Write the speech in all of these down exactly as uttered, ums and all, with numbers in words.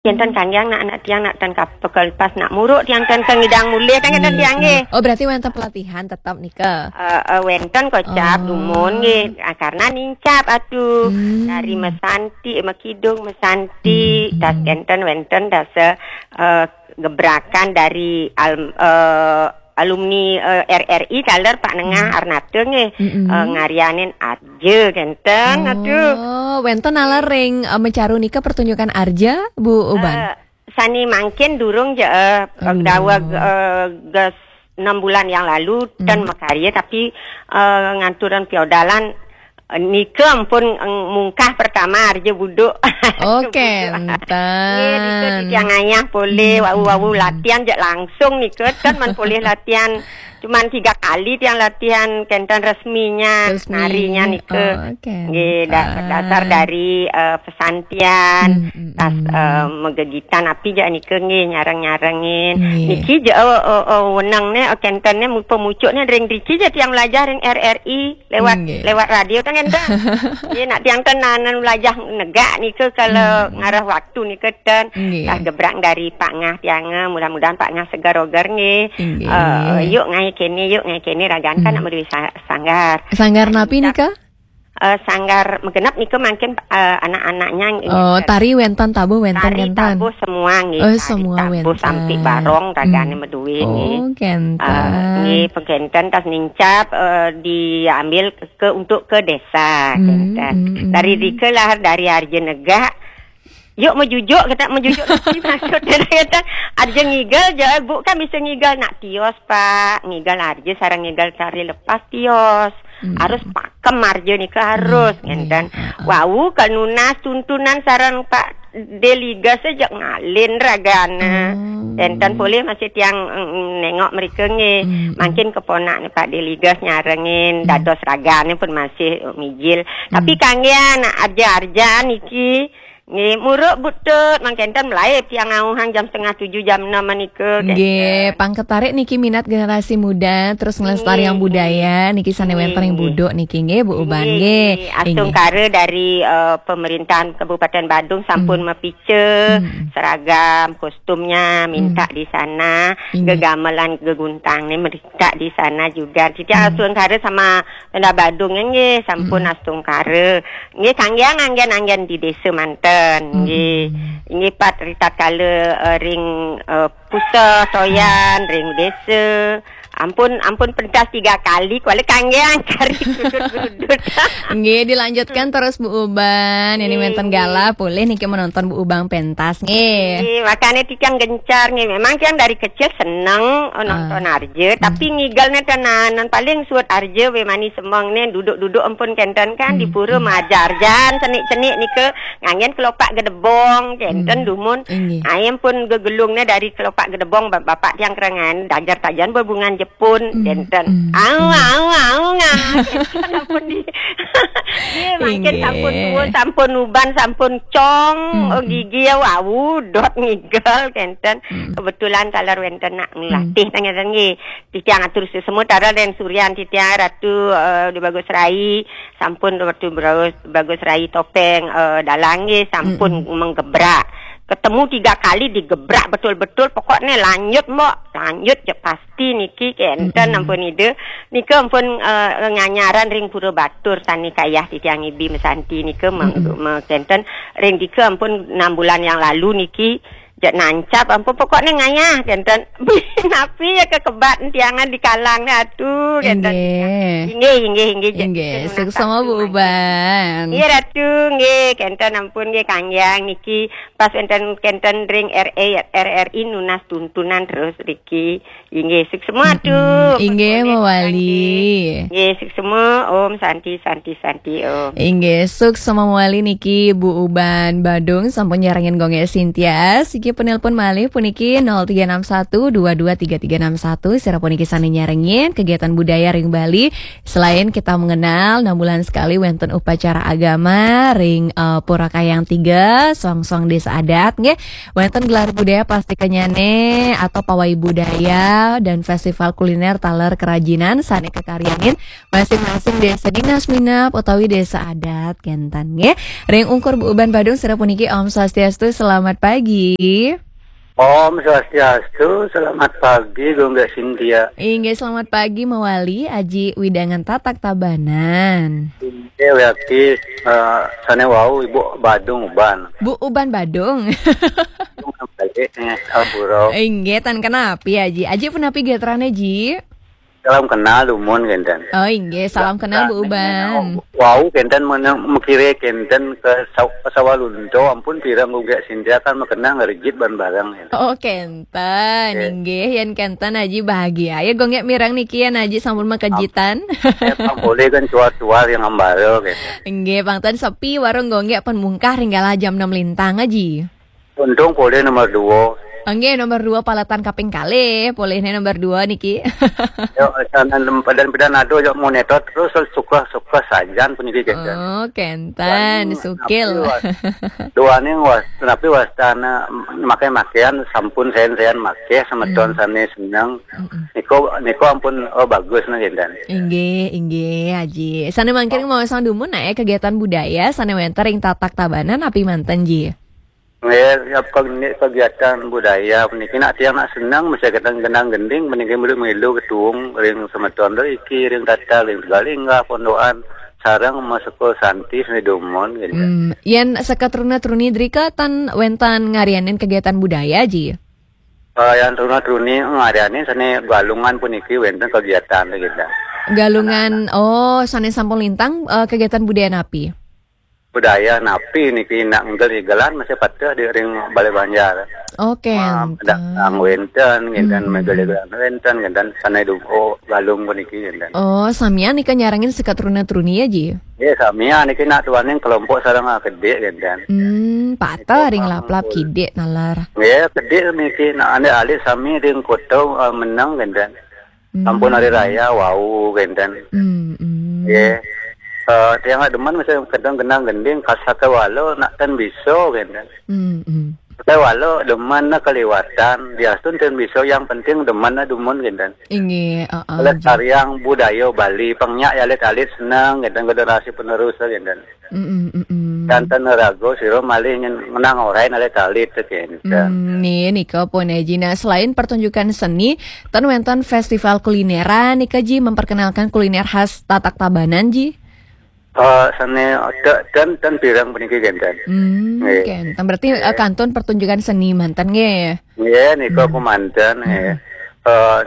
Yen ten kanggiang nak, nak tiang nak ten kap-, pekel pas nak muruk tiang ten kengidang mulih kan enten tiang nggih. Oh, berarti wonten pelatihan tetap nika. Eh, eh, wenten kocap Oh. dumun nggih. Ah, karena nincap atuh. Hmm. Dari mesanti, mekidung mesanti, Hmm. tas enten wenten tas eh, gebrakan dari al, eh, alumni eh, R R I taler Pak Nengah Hmm. Arnate nggih. Mm-mm. Eh, ngarianin arja kenten atuh. Oh, wonten naler ring eh, Mecaru nika pertunjukan arja, Bu Uban. Eh, sani mangkin durung je eh, Aduh. dawa eh, ges enam bulan yang lalu ten Hmm. makarya tapi eh, nganturan piodalan eh, nika ampun eh, mungkah pertama arja buduk. Oh, Buduk. Nggih, nika kenten. titiang ngayah polih Hmm. wau-wau latihan je langsung nika ten man polih latihan cuman tiga kali tiang latihan kenten resminya Resmi. narinya nika. Oh, kenten. Nggih, dasar-dasar dari eh, pesantian, Hmm, hmm, tas hmm. eh, megegitan api je nika nggih nyareng-nyarengin. Nggih. Niki je oh, oh, oh weneng ne oh, kenten ne mu- pemucuk ne ring driki je tiang belajar ring R R I lewat Nggih. lewat radio kan enten. Nggih nak tiang ten nanan belajar negak nika kalau Hmm. ngarah waktu nika ten. Nggih. Tas gebrang dari Pak Ngah tiang eh, mudah-mudahan Pak Ngah segar oger nggih. Nggih. Eh, yuk ngai kene, yuk ngai kene ragan kan Hmm. nak meduwi sa- sanggar. Sanggar napi Nika- nika? Eh, sanggar menggenep nika mangkin eh, anak-anaknya nggih. Oh, tari wonten tabuh wonten Tari wonten. tabuh semua nggih. Oh, Tari semua tabuh wonten. Sampi barong ragane Hmm. meduwi nggih. Oh, kenten. Eh, nggih pengkenten tas nincap eh, diambil ke untuk ke desa Hmm, kenten. hmm, hmm. Dari rika lahar dari arja negak. Yuk mejujuk kita mejujuk napi maksudnya kita arja ngigel je bu kan bisa ngigel nak tios Pak ngigel arja sareng ngigel tari lepas tios. Hmm. Harus pakem arja nika harus Nggih, ngenten. nggih, heeh. Wau kanunas tuntunan sareng Pak Deliga sejak ngalin ragane. Oh. Enten polih masih tiang mm, nengok mereka nggih. Hmm. Mangkin keponak ni Pak Deliga nyarengin Hmm. dados ragane pun masih eh, mijil. Tapi Hmm. kanggian arja-arja niki nggih muruk butut mangkenten mulai tiang ngauhang jam setengah tujuh jam enam menika. Nggih, pangketarik niki minat generasi muda terus ngelestariang Nggih, budaya niki sane wonten ring nggih. Buduk niki nggih Bu Uban Nggih, nggih. nggih. Astungkara dari eh, pemerintah Kabupaten Badung sampun Hmm. mapica Hmm. seragam kostumnya minta Hmm. di sana, Nggih. gegamelan geguntang ni minta di sana juga. Titiang Hmm. astungkara sama Pemda Badung nggih sampun Hmm. astungkara. Nggih kanggiang anggen-anggen di desa manten. Hmm. Nggih. Nggih pat ritatkala eh, ring eh, pusat toyan ring desa. Ampun ampun pentas tiga kali kuala kanggiang kari gerudut-gerudut. Nggih, dilanjutkan terus Bu Uban. Ini Nggih, wonten nggih. Galah polih niki menonton Bu Uban pentas nggih. Nggih, makanya tiang gencar nggih. Memang tiang dari kecil seneng oh, nonton Ah. arja, tapi ngigelne tenanan paling suut arja we mani semeng ne duduk-duduk ampun kenten kan di Hmm. pura majar jan cenik-cenik nika nganggen kelopak gedebong kenten Hmm. dumun. Inggih. Ayam pun gegelungne dari kelopak gedebong ba- bapak tiang kerengan dajar tajan bebungan jepun Hmm. kenten. Hmm. Au Hmm. au au nga. Kenten ampun di. Nggih, mangkin Inggih. Sampun tuun, sampun uban, sampun cong, Hmm. oh gigi ya wau dot ngigel kenten. Hmm. Kebetulan taler wenten nak Hmm. ngelatih tang ngeten nggih. Titiang atur semua taler dan Suryan titiang Ratu eh, di Bagus Rai, sampun Ratu Bagus, Bagus Rai Topeng eh, dalang nggih sampun Mm-mm. menggebrak. Ketemu tiga kali digebrak betul-betul pokoknya lanjut mbok, lanjut je pasti niki kenten Mm-mm. ampun ide. Nika ampun eh, nganyaran ring Pura Batur sani kayah titiang ibi mesanti nika me- Mm-mm. me- kenten ring dika ampun enam bulan yang lalu niki je nancap ampun pokoknya ngayah kenten. Napi ya kekebat tiangan di kalang ni atu kenten. Inggih. Inggih inggih inggih je. Inggih, Kenten suksma nancap Bu tu Uban. Nggih Ratu nggih kenten ampun nggih kanggiang niki pas enten kenten ring R A R R I nunas tuntunan terus riki. Inggih suksma tu. Mm-mm. Inggih mawali. Nggih suksma Om Santi Santi Santi Om. Inggih, suksma mawali niki Bu Uban Badung sampun nyarengin Gung Gé Sintia. Siki Penelpon malih puniki nol tiga enam satu dua dua tiga tiga enam satu. Sira puniki sane nyarengin kegiatan budaya ring Bali. Selain kita mengenal enam bulan sekali wenten upacara agama ring eh, Pura Kayang Tiga, songsong desa adat nggih. Wenten gelar budaya pasti kenyane atau pawai budaya dan festival kuliner taler kerajinan sane kekaryanin masing-masing desa dinas minab utawi desa adat kenten nggih. Ring ungkur Bu Uban Badung sira puniki Om Swastiastu, selamat pagi. Om Swastiastu, selamat pagi Gung Gek Sintia. Inggih, selamat pagi mawali Aji Widangan Tatak Tabanan. Inggih, wiakti eh, sane wau Ibu Badung Uban. Bu Uban Badung. Balik nih, ampura. Inggih, tan kenapi Aji. Aji punapi gatrane Ji? Salam kenal dumun kenten. Oh inggih, salam kenal Bu Uban. Wau kenten menang mekire kenten ke saw- ke Sawalunto ampun pirang Gung Gek Sintia kan makenang rejit ban barang kenten. Oh kenten, inggih yen kenten Aji bahagia. Ya Gung Gek mireng niki yen Aji sampun makejitan. Pang boleh kan cuar-cuar yang ambara kenten. Inggih, pang ten sepi warung Gung Gek pun mungkah ring galah jam enam lintang Aji. Untung polih nomor dua. Nggih, nomor dua paletan kaping kalih, polihne nomor dua niki. Yo, sanan pedan-pedan ado yo monitor terus suka-suka sajan puniki kenten. Oh, kenten, sukil. Duaning was, napi wastana make-makean sampun sayan-sayan make semeton sane seneng. Niko niko ampun oh bagus nah kenten. Inggih, inggih, Aji. Sane mangkin mau sang dumun nae kegiatan budaya sane wenten ring Tatak Tabanan napi manten Ji? Nggih, ya, keg- kegiatan budaya puniki nak tiang nak senang mesti kadang gendang gending puniki milu-milu ketuung ring semeton ring iki ring Tatak ring Tegalinggah pondokan sareng maseko santi seni dumun gitu. Hmm, yen seketruna truni drika tan wenten ngarianin kegiatan budaya Ji? Eh, yang truna truni ngarianin seni galungan puniki wenten kegiatan gitu. Galungan, oh, sane sampun lintang eh, kegiatan budaya napi? Budaya napi niki nak ngel igelan masih pateh di ring Balai Banjar. Oke, enten. Nang wenten, ngenten megel igelan wenten, ngenten sanai duko galung puniki ngenten. Oh, samian nika nyarengin seketruna truni ya Ji? Ya, samian niki nak tuaning kelompok sareng akedik ngenten. Hmm, pateh ring laplap kidik nalar. Ya, kedik niki nak ane alit sami ring kota eh, menang ngenten. Sampun hari raya wau kenten. Hmm, hmm. Nggih. Eh, tiang demen mesti kadang genang gending kasake walau nak ten bisa kenten. Hmm, hmm. Sake walau demen nak keliwatan, diastun ten bisa yang penting demen nak dumun kenten. Inggih, heeh. Oleh tariang budaya Bali, pengnyak ya alit-alit senang kenten generasi penerus kenten. Mm-mm, mm-mm. Kanten raga sira malih nyen- ngenang orai nalih talit kenten. Hmm, nih, nika pun ya Ji. Nah, selain pertunjukan seni, ten wenten festival kulineran nika Ji memperkenalkan kuliner khas Tatak Tabanan Ji. Eh, sane te- ten ten pirang puniki kenten. Hmm, nggih. Kenten. Berarti eh, kantun pertunjukan seni manten nggih. Nggih, nika hmm. Kumanten nggih. Eh,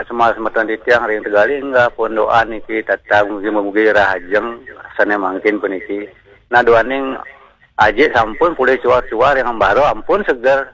semua semeton titiang ring Tegalinggah pondokan niki tatang mugi-mugi rahajeng sane mangkin puniki. Nah, duaning ajik sampun pulih cuar-cuar yang ambara ampun seger.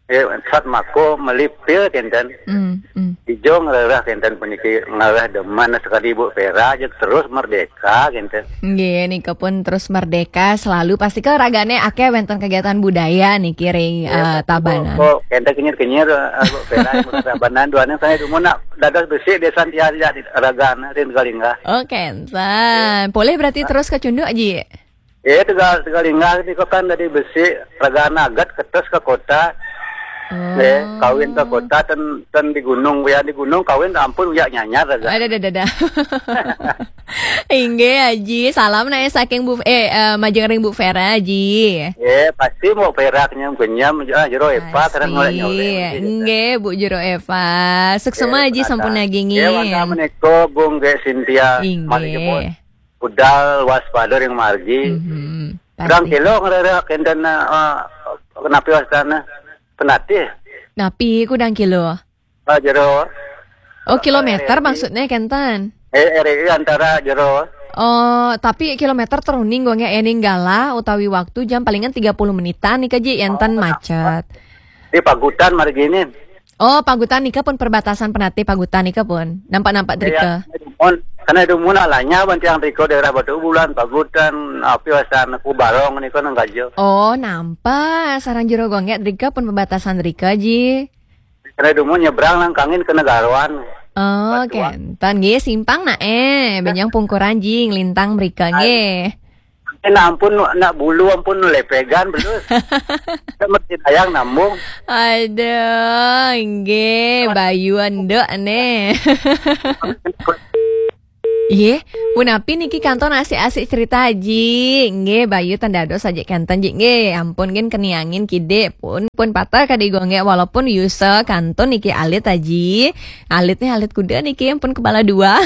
Eh, sat mako melipil kenten. Hmm, hmm. Ijo ngererah kenten puniki ngererah demen sekali Bu Pera aja terus merdeka kenten. Nggih, nika pun terus merdeka selalu pasti ke ragane akeh wenten kegiatan budaya niki ring eh, Tabanan. Kok kenten kenyir-kenyir eh, Bu Pera Tabanan duaning saya dumun nak dados besik desa tiar ya ragane ring Tegalinggah. Oh, kenten. Boleh berarti terus ke Cunduk Ji. Eh, Tegal Tegalinggah nika kan dari besik ragane agat ketes ke kota. Oh. Eh, kawin ke kota ten ten di gunung ya di gunung kawin ampun uyak nyanyar raga. Ada ada ada. Inggih Aji, salam nae saking Bu eh, eh majeng ring Bu Vera Aji. Eh, pasti mau perak nyam kenyam ah, jero epa terang ngolek nyolek. Inggih, Bu Jero Eva. Suksema Aji sampun nagingin. Eh, wanda meniko Bung Gek Sintia. Inggih. Budal waspada ring margi. Mhm. Pirang kilo ngerereh kenten eh, kenapi wastana penatih. Napi kudang kilo? Ah, jero. Oh, kilometer maksudnya kenten. Eh, R I antara jero. Oh, tapi kilometer teruning gue nggak ening gala utawi waktu jam palingan tiga puluh menitan nih Ji enten macet. Di Pagutan margi ini. Oh, Pagutan nika pun perbatasan penatih Pagutan nika pun. Nampak-nampak drika. Mon Karena dumun alanya ban tiang riko daerah Batu Bulan, Pagutan, api wasan Kubarong nika nang gajo. Oh, nampak sarang Jero Gonggé drika pun perbatasan drika ji. Karena dumun nyebrang nang kangin ke Negaroan. Oh, Batuan. Kénten nggih simpang nak eh, benjang pungkuran ji nglintang mrika nggih. Nah ampun, nak bulu ampun lepegan belus. Kita mesti tayang nambung. Aduh, nggih, Bayu enduk nih. Yeh, punapi niki kantun asik-asik cerita ji. Nggih, Bayu tanda dosa aja kenten ji. Nggih, ampun gin keniangin kidik pun pun patah kadi gonggé walaupun yuse kantun niki alit aji. Alit nih alit kuda niki ampun kepala dua.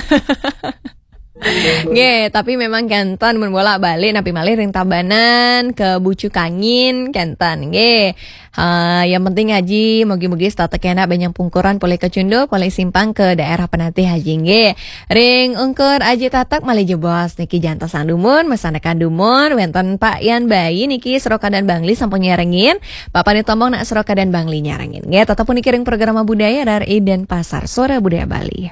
Nggih, tapi memang kenten mun bolak-balik napi malih ring Tabanan ke Bucu Kangin kenten nggih. Ha, yang penting aji mugi-mugi setata kena benjang pungkuran polih ke Cunduk, polih simpang ke daerah penatih aji nggih. Ring ungkur aji tatak malih jebos niki jantos sang dumun, mesanakan dumun, wenten Pak Yan Bayi niki Seroka dan Bangli sampun nyarengin. Pak Panit Tombong nak Seroka dan Bangli nyarengin. Nggih, tetep puniki ring programa budaya R R I Denpasar Suara Budaya Bali.